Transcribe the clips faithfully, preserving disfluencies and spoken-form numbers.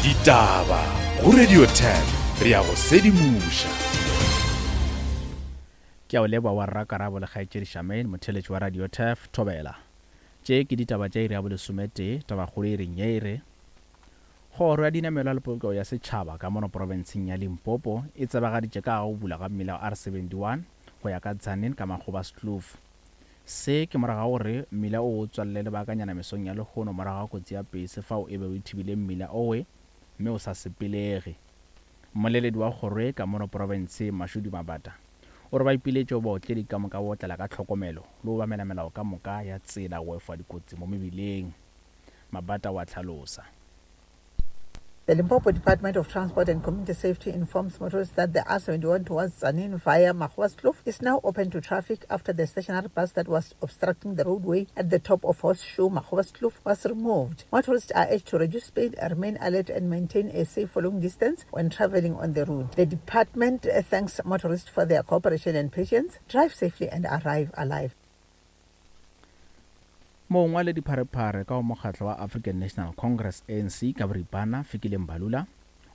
Ditaba go Radio ten re ya go sedimoša. Ke a o leboga wa rra Karabo le kgaetšedi Charmaine, motheeletši wa Radio Turf, Thobela. Tše ke ditaba tša iri ya bolesometee, tabakgolo e reng ye e re, Kgoro ya Dinamelwa le Polokego ya Setšhaba ka mono profenseng ya Limpopo e tsebagaditše ka ga go bula ga mmila wa R seventy one go ya ka Tzaneen ka Makgobaskloof. Se ke morago ga gore mmila o o tswalele lebakanyana mesong ya lehono morago ga kotsi ya pese fao e bego e thibile mmila owe mme o sa sepelege. Mmoleledi wa kgoro ye ka mono profenseng Mashudu Mabata o re ba ipiletše go baotledi ka moka go otlela ka tlhokomelo le go obamela melao ka moka ya tsela go efoga dikotsi mo mebileng. Mabata o a hlalosa. The Limpopo Department of Transport and Community Safety informs motorists that the R seventy-one towards Tzaneen via Magoaskloof is now open to traffic after the stationary bus that was obstructing the roadway at the top of Horseshoe Magoaskloof was removed. Motorists are urged to reduce speed, remain alert and maintain a safe following distance when traveling on the route. The department uh, thanks motorists for their cooperation and patience. Drive safely and arrive alive. Mongwaledipharephare ka go mokgatlo wa African National Congress, A N C ka boripana, Fikile Mbalula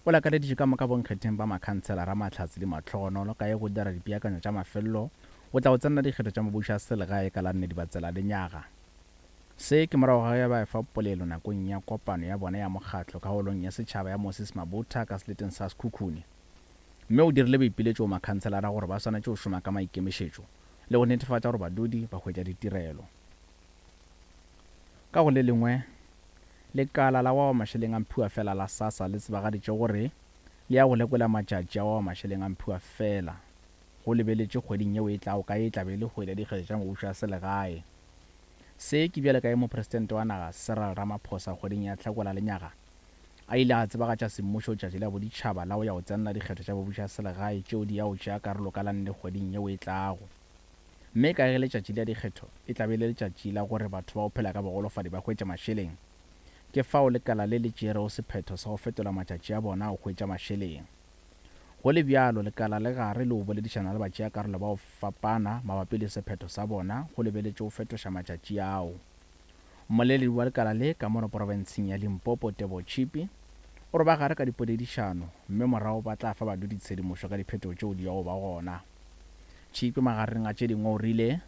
o lakaleditše ka moka bonkgetheng ba makhanselara mahlatse le mahlogonolo ka ye go dira dipeakanyo tša mafelelo go tla go tsenela dikgetho tša mabušo a selegae ka la nne Dibatsela lenyaga. Se ke morago ga ge ba efa polelo nakong ya kopano ya bona ya mokgatlo ka holong ya setšhaba ya Moses Mabutha ka seleteng sa Sekhukhune, mme o dirile boipiletšo go makhanselara gore ba swanetše go šoma ka maikemišetšo le go netefatša gore badudi ba hwetša ditirelo. Ka go le lengwe, lekala la wa mašeleng a mphiwa fela la SASSA le tsebagaditše gore le ya go lekola matšatši a wa mašeleng a mphiwa fela go lebeletše kgweding yeo e tlago ka e tla be e le kgwedi ya dikgetho tša mebušo ya selegae. Se ke bjale ka ge mopresidente wa naga Cyril Ramaphosa kgweding ya Hlakola lenyaga a ile a tsebagatša semmušo tšatši la boditšhaba la go ya go tsenela dikgetho tša mebušo ya selegae tšeo di ya go tšea karolo ka la nne kgweding yeo e tlago, mme ka ge letšatši la dikgetho e tla be le letšatši la gore batho ba go phela ka bogolofadi ba hwetša mašeleng, ke fao lekala le le tšerego sephetho sa go fetola matšatši a bona go hwetša mašeleng. Go le bjalo, lekala le gare le go boledišana le batšeakarolo ba go fapana mabapi le sephetho sa bona go lebeletše go fetoša matšatši ao. Mmoleledi wa lekala le ka mono profenseng ya Limpopo, Teboho Chipi, o re ba gare ka dipoledišano mme morago ba tla fa badudi tshedimošo ka diphetogo tšeo di yago ba gona. Chipi magareng a tše dingwe o rile.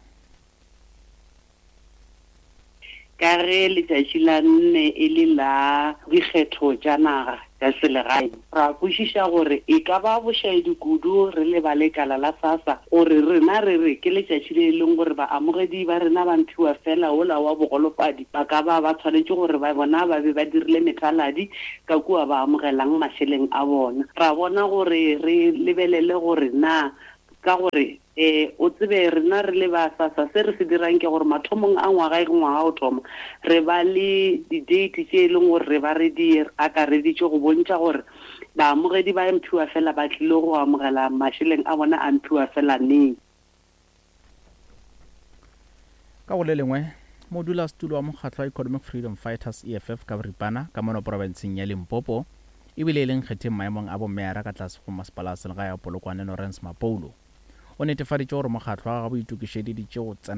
Ka ge letšatši la nne e le la dikgetho tša naga tša selegae, ra kwešiša gore e ka ba bošaedi kudu re le ba lekala la SASSA gore rena re re ke letšatši le e leng gore baamogedi ba rena ba mphiwa fela wola wa bogolofadi ba ka ba ba tshwanetše gore ba bona ba be ba dirile methaladi ka kua ba amogelang mašeleng a bona. Ra bona gore re lebelele gore na ka gore um o tsebe rena re le ba SASSA se re se dirang ke gore mathomong a ngwaga e ngwaga o thoma re ba le di-date tše e leng gore re ba re di akareditše go bontšha gore baamogedi ba mphiwa fela ba tlile go amogela mašeleng a bona a mphiwa fela neng. Ka go le lengwe, modulasetulo wa mokgatlo wa Economic Freedom Fighters, E F F ka boripana, ka mono profenseng ya Limpopo ebile e leng kgetheng maemong a bomeyara ka tlase go masepala wa selegae wa Polokwane, Lawrence Mapoulo, o netefaditše gore mokgatlo wa gagwe o itokišeditše go tsena